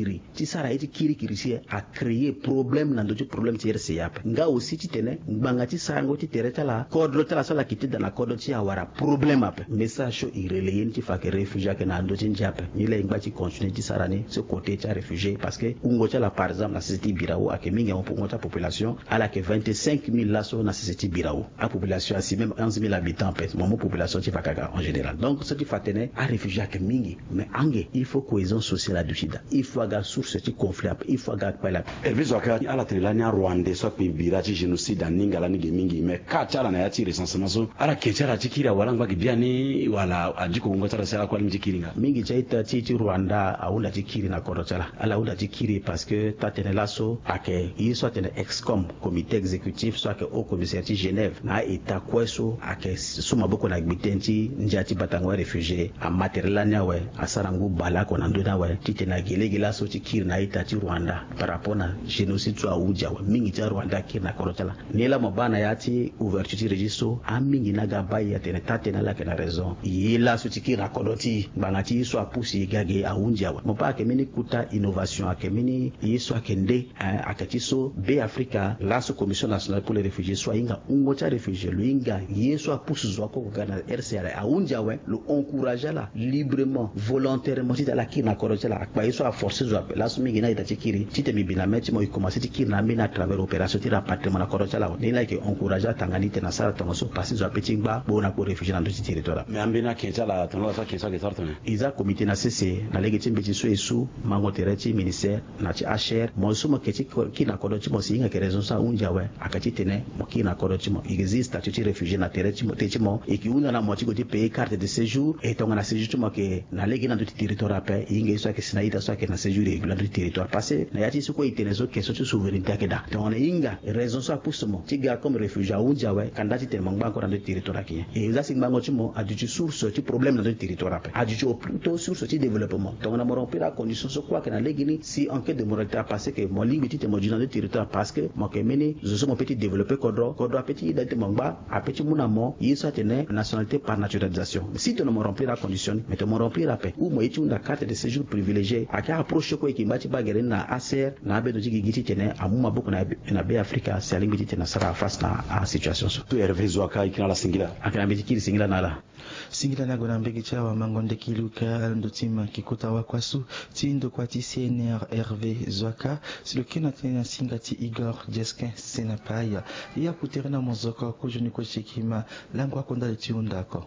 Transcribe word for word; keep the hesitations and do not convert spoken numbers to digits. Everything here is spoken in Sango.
kiri ti sara ye ti kirikiri si a créer problème na ndö ti problème ti R C A ape. Nga aussi titene ngbanga ti sarango ti tere ti ala, kodro ti ala so ala yeke ti da na kodro ti e awara problème ape. Message so e relayer ni ti fa ayeke réfugié ayeke na ndö ti ndia ape. Ni laa e ngba ti continuer ti sara ni so côté ti aréfugié parce que wungo ti ala par exemple na sese ti Birao ayeke mingi, wungo ti apopulation ala yeke vingt-cinq mille laso na sese ti Birao. Apopulation asi même onze mille habitants ape, mo mu population ti Vakaga en général. Donc so ti fa atene aréfugié ayeke mingi. Mais ange il faut cohésion sociale aduti daa. Il faut aga source ti conflit ape, il faut aga kpale ape. Hervé Zoaka, ala tene lani arwandais so akpe bira ti génocide aninga lani ge mingi, mais ka ti ala na ya ti recensement so ala ke ti ala ti kiri awara angba gi biani wala adiko wungo ti ala si ala kue alingbi ti kiri nga? Mingi ti a-ita ti e ti Rwanda ahunda ti kiri na kodro ti ala. Ala hunda ti kiri parce que taa-tënë laso ayeke ye so atene EXCOM, comité exécutif so ayeke haut commissaire ti Genève na a-ita kue so ayeke so maboko na gbi tënë ti ndia ti batango aréfugié, ama tere lani awe, asara ngu baleoko na ndö ni awe titene agi lege laso ti kiri na a-ita ti Rwanda par rapport na génocide so ahunzi awe. Mingi ti aRwanda akiri na kodro ti ala. Ni laa mo baa na ya ti ouverture ti registre so, amingi ni aga baa e atene taa-tënë ala yeke na raison. Ye laso ti kiri na kodro ti e ngbanga ti ye so apusu e ga ge ahunzi awe. Mo baa ayeke mbeni kota innovation, ayeke mbeni ye so ayeke nde, eh, ayeke ti so Be Afrika laso Commission nationale pour les réfugiés so ahinga wungo ti aréfugié, lo hinga ye so apusu zo oko ga na R C A ahunzi awe, lo encourager ala librement, volontairement titene ala kiri na kodro ti ala. Akpa ye so aforcer zo ape. Laso mingi ni a-ita ti kiri titene mbi bi na mê ti mo e commencer ti kiri na ambeni à travers opération ti rapatriement na kodro ti ala awe. Ni laa e yeke encourager atanga ni titene asara tongaso parce que zo ape ti ngba kpo na kpo réfugié na ndö ti territoire. Mais ambeni ake ti ala tongana ala so ake so ake sara tongana e za comité na sese na lege ti mbeti so e su mango tere ti ministère na ti H R. Mo so mo yeke ti kiri na kodro ti mo si e hinga yeke raison so ahunzi awe, ayeke titene mo kiri na kodro ti mo. E yeke zi statut ti réfugié na tere ti mo, te ti mo e yeke hunda na mo ti gue ti payer carte de séjour. E tongana séjour ti mo ayeke na lege ni na ndö ti territoire ape, e hinga ye so ayeke si na a-ita so ayeke na séjour irrégulier na ndö ti territoire. Parce que na ya ti so kue e tene so question ti souveraineté ayeke daa. Tongana e hinga raison so apusu mo ti ga comme réfugié ahunzi awe, ka nda titene mo ngba encore na ndö ti territoire ayeke nyen? E za si ngbango ti mo aduti source ti problème na ndö ti territoire ape. Aduti au plutôt source ti développement. Tongana mo remplir acondition so kue ayeke na lege ni, si enquête de moralité apasser que mo lingbi titene mo duti na ndö ti territoire parce que mo yeke mbeni zo so mo peut ti développer kodro, kodro apeut ti yeda titene mo ngba, apeut ti mu na mo ye so atene nationalité par naturalisation. Si tongana mo remplir acondition ni, mais tongana mo remplir ape ou mo ye ti hunda carte de séjour privilégié, ayeke approche kue e yeke ngba ti baa gere ni na H C R na abendo ti gigi titene amu maboko na, na Be Afrika si alingbi titene asara face na asituation so. Tout Hervé Zoaka, e yeke na ala singila. Ayeke na mbi ti kiri singila na ala. Singila ni ague na mbage ti awamango ndeki luka alondo ti ma yeke kota wakua so ti ndokua ti C N R Hervé Zoaka, si lo kiri na tënë na singa ti Igor Jesquin Senapaya. E aku tere na mozoko kozoni kue ti yeke ma lango ako ndali ti hunda oko.